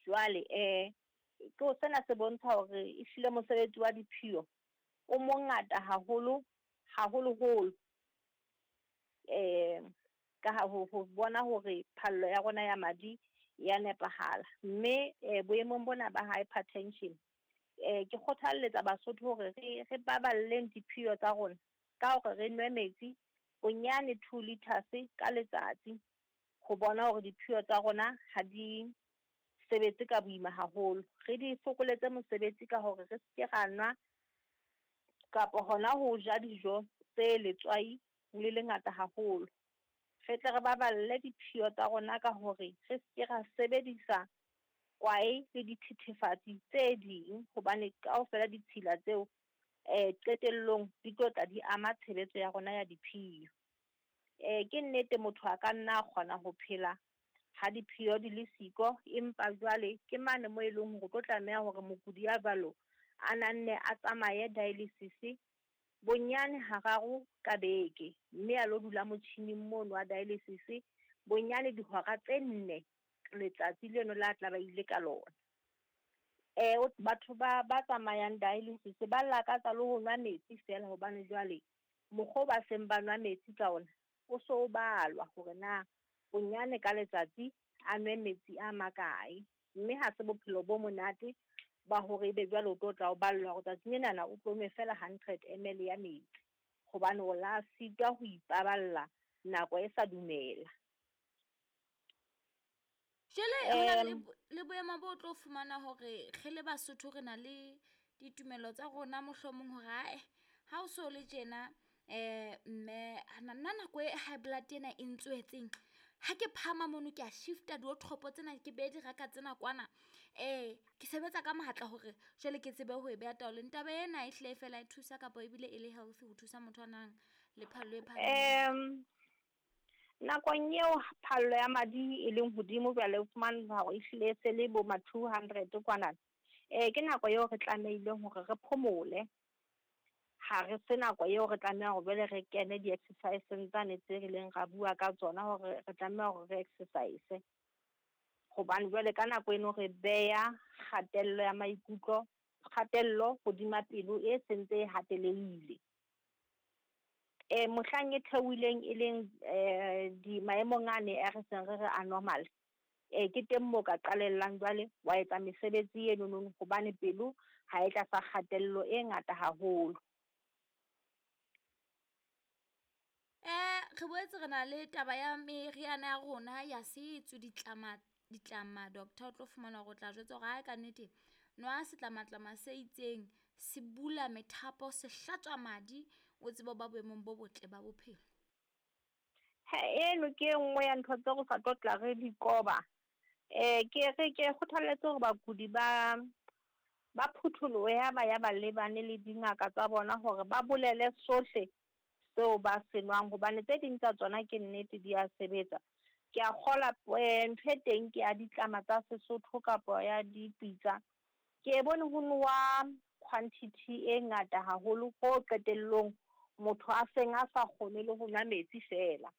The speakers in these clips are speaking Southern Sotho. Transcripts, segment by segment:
Jwale ke sena se bontsha hore ehlile mosebetsi wa diphio o mongata haholo, haholoholo ka ha ho bona hore phallo ya rona ya madi ya nepahala. Mme boemong bona ba hypertension, ke kgothalletsa Basotho hore re baballeng diphio tsa rona ka hore re nwe metsi bonyane 2 litres ka letsatsi, ho bona hore diphio tsa rona ha di sebetse ka boima haholo. Re di fokoletse mosebetsi ka hore re seke ra nwa kapa hona ho ja dijo tse letswai le lengata haholo. Re tle re baballe diphio tsa rona ka hore re seke ra sebedisa kwae le dithethefatsi tse ding, hobane kaofela ditshila tseo qetellong di tlo tla di ama tshebetso ya rona ya diphio. Ke nnete motho a ka nna a kgona ho phela ha diphio di le siko, empa jwale ke mane mo e leng hore o tlo tlameha hore mokudi ya jwalo a nanne a tsamaye dialysis bonyane hararo ka beke, mme a lo dula motjhining mono wa dialysis bonyane dihora tse 4 letsatsi leno la tla ba ile ka lona. Batho ba tsamayang dialysis ba lakatsa le ho nwa metsi fela hobane jwale mokgwa o ba seng ba nwa metsi ka ona o so balwa hore na bonyane ka letsatsi a nwe metsi a makae. Mme ha se bophelo bo monate ba hore ebe jwale o tlo tla o ballwa hore tsatsing lenana o tlo nwe fela 100 ml ya metsi, hobane o la sitwa ho ipaballa nako e sa dumela. Jwale ho na le boemo bo tlo fumana hore re le Basotho re na le ditumelo tsa rona, mohlomong hore ae ha o so le tjena, mme nna nako e high blood ena e ntswetseng, ha ke phahama mono ke a shifta diwotoropo tsena, ke behe diraka tsena kwana, ke sebetsa ka matla hore jwale ke tsebe ho e beha taolong. Taba ena e hlile fela e thusa kapa ebile e le healthy ho thusa motho a nang le phallo e phahameng? Nakong eo phallo ya madi e leng hodimo jwale, o fumana hore ehlile se le bo ma 200 kwana, ke nako eo re tlamehileng hore re phomole. Ha re se nako eo re tlameha hore jwale re kene di-exercise-eng tsane tse rileng ra bua ka tsona hore re tlameha hore re exercise. Hobane jwale ka nako eno re beha kgatello ya maikutlo, kgatello hodima pelo e sentse e hatelehile. Mohlang e theohileng e leng di maemong ane a re seng re re a normal, ke teng moo ka qalellang jwale wa etsa mesebetsi eno nono, hobane pelo ha e tlasa kgatello e ngata haholo. Re boetse re na le taba ya meriana ya rona ya setso, ditlama ditlama, doctor. O tlo fumana hore o tla jwetsa hore ha ka nnete nwa setlamatlama se itseng, se bula methapo, se hlatswa madi, o tsebe ho ba boemong bo botle ba bophelo. Ha eno ke e nngwe ya ntho tse re sa tlo tla re di qoba. Ke re ke kgothalletse hore bakudi ba phutholohe ha ba ya ba lebane le dingaka tsa bona hore ba bolele sohle seo ba se nwang, hobane tse ding tsa tsona ke nnete di a sebetsa. Ke a kgola ntho e teng ke ya ditlama tsa Sesotho kapa ya dipitsa. Ke e bone ho nowa quantity e ngata haholo ho qetellong motho a seng a sa kgone le ho nwa metsi fela,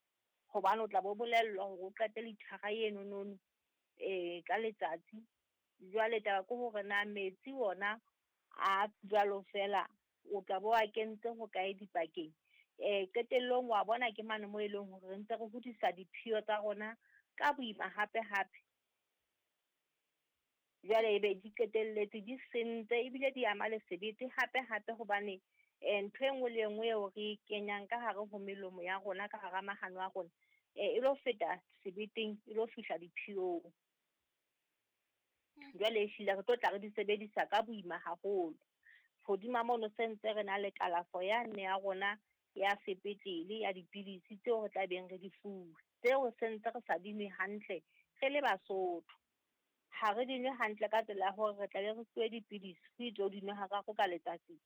hobane o tla bo bolellwa hore o qete lithara eno nono ka letsatsi. Jwale taba ke hore na metsi ona a jwalo fela o tla bo a kentse ho kae dipakeng. Qetellong wa bona ke mane mo e leng hore re ntse re hodisa diphio tsa rona ka boima hape hape. Jwale ebe di qetelletse di sentse ebile di ama le sebete hape hape, hobane ntho e nngwe le e nngwe eo re e kenyang ka hare ho melomo ya rona, ka hara mahano a rona, e lo feta sebeteng, e lo fihla diphiong. Jwale ehlile re tlo tla re di sebedisa ka boima haholo. Hodima mono se ntse re na le kalafo yane ya rona ya sepetlele ya dipidisi tseo re tla beng re di fuwe, tseo se ntse re sa di nwe hantle re le Basotho. Ha re di nwe hantle ka tsela ya hore re tla be re fuwe dipidisi ho itswe o di nwe hararo ka letsatsi.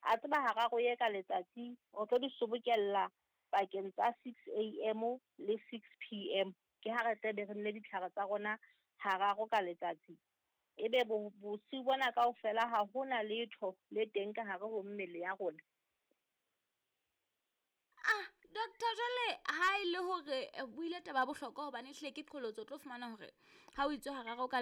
A tseba hararo ye ka letsatsi o tlo di sobokella pakeng tsa 6 a.m. le 6 p.m., ke ha re tla be re nne ditlhare tsa rona hararo ka letsatsi. Ebe bosiu bona kaofela ha hona letho le teng ka hare ho mmele ya rona. Ah, doctor, jwale ha e le hore o buile taba ya bohlokwa, hobane ehlile ke qholotso, o tlo fumana hore ha o itswe hararo ka